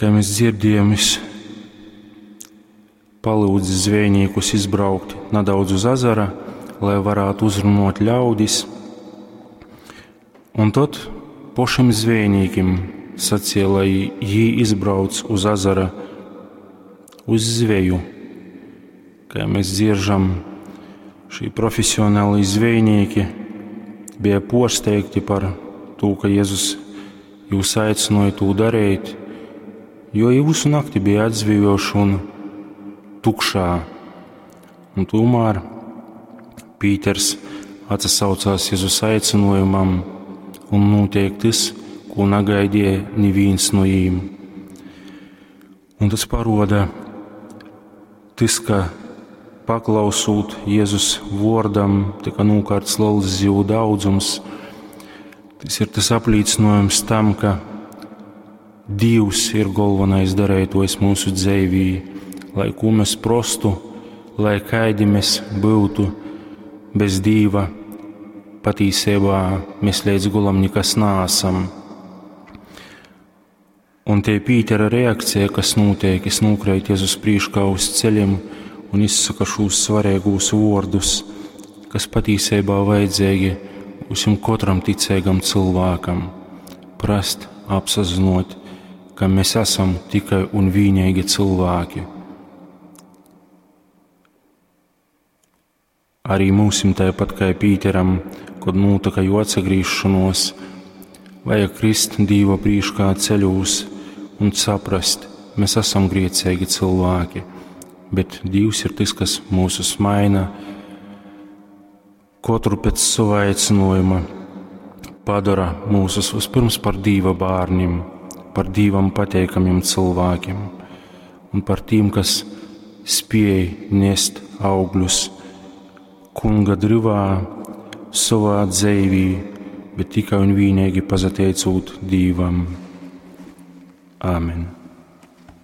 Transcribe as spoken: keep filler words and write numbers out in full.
Kai mēs dzirdējam, viņš palūdz zvejniekus izbraukt nedaudz uz azara, lai varētu uzrunot ļaudis. Un tad pašiem zvejniekiem sacīja, lai jī izbrauc uz azara uz zveju. Kā mēs dzieržam, šī profesionāli zvejnieki bija porsteigti par to, ka Jēzus jūs aicināja to darīt, jo jau visu nakti bija atzvejoši un tukšā. Un tomēr Pīters atsaucās Jēzus aicinājumam un notiek tas, ko negaidīja neviens no jīm. Un tas paroda tas, ka paklausūt Jēzus vārdam, tika nokārts liels zivu daudzums. Tas ir tas apliecinājums tam, ka Dievs ir galvenais darētojs mūsu dzīvī, lai ko mēs prostu, lai kaidi mēs būtu bez Dieva, patīsībā mēs līdz gulam nekas nāsam. Un tie Pītera reakcija, kas notiek, es nokrīt Jēzus priekšā uz ceļiem un izsaka šos svarīgos vārdus, kas patīsībā vajadzīgi visam katram ticīgam cilvēkam. Prast, apsazinot, ka mēs esam tikai un vienīgi cilvēki. Arī mūsim tāpat kā Pīteram, kad notika jo atsagriešanos, vajag krist Dīva priekšā ceļos un saprast, mēs esam griecīgi cilvēki, bet Dievs ir tas, kas mūsus maina, katru pēc sava aicinājuma padara mūsus vispirms par Dieva bērniem, par Dievam pateikamiem cilvēkiem un par tiem, kas spēj nest augļus kunga drivā savā dzīvī, bet tikai un vienīgi pazateicot Dievam. Āmen.